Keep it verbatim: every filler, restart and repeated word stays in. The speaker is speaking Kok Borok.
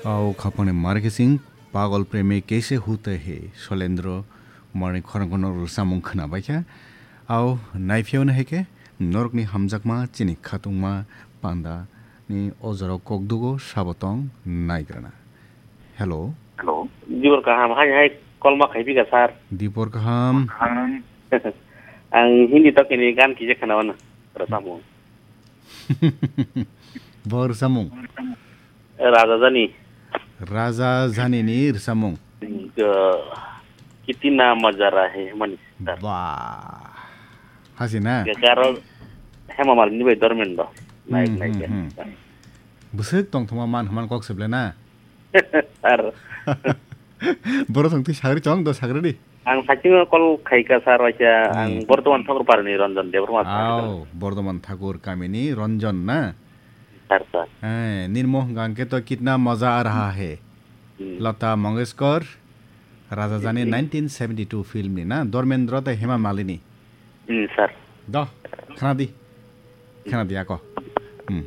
Au khapangni markesing pagol premi kaise hute he Sholendro Kumarni khorang kono rwsamung khwnabaikha. Au naiphiyauna heke norokni hamjakma chini khatungma panda ni ojoro kokdugo sabo tong naigrana. Hello. Hello. Dibor kaham, hai hai kolma khaipika sir. Dibor kaham. Ang Hindi tokini gan kije khwnawana rwsamung. Bo rwsamung. Raja Jani. Raja Jani ni rwsamung. Kitina maja rahe mani. Ba. Hasi na? Garo Hema Malini bai Dormendo. Naik naik. Bwswk tongthoma man hman kok seble na? Sir. Boro thong twi sagri chong do sagri di. Ang sachingo call khaika sir waisa ang Bordoman Thakur Parni Ranjan Debbarma sir. Au, Bordoman Thakur kamini Ranjan na? Sir sir. Eh, nirmo hwnkha hwnkhe to kitna maza aa raha hai. Lata Mangeshkar, Raja Jani nineteen seventy-two film ni na, Dormendra tei Hema Malini. Hmm, sir. Do, khana di. Khana di ako. Hmm.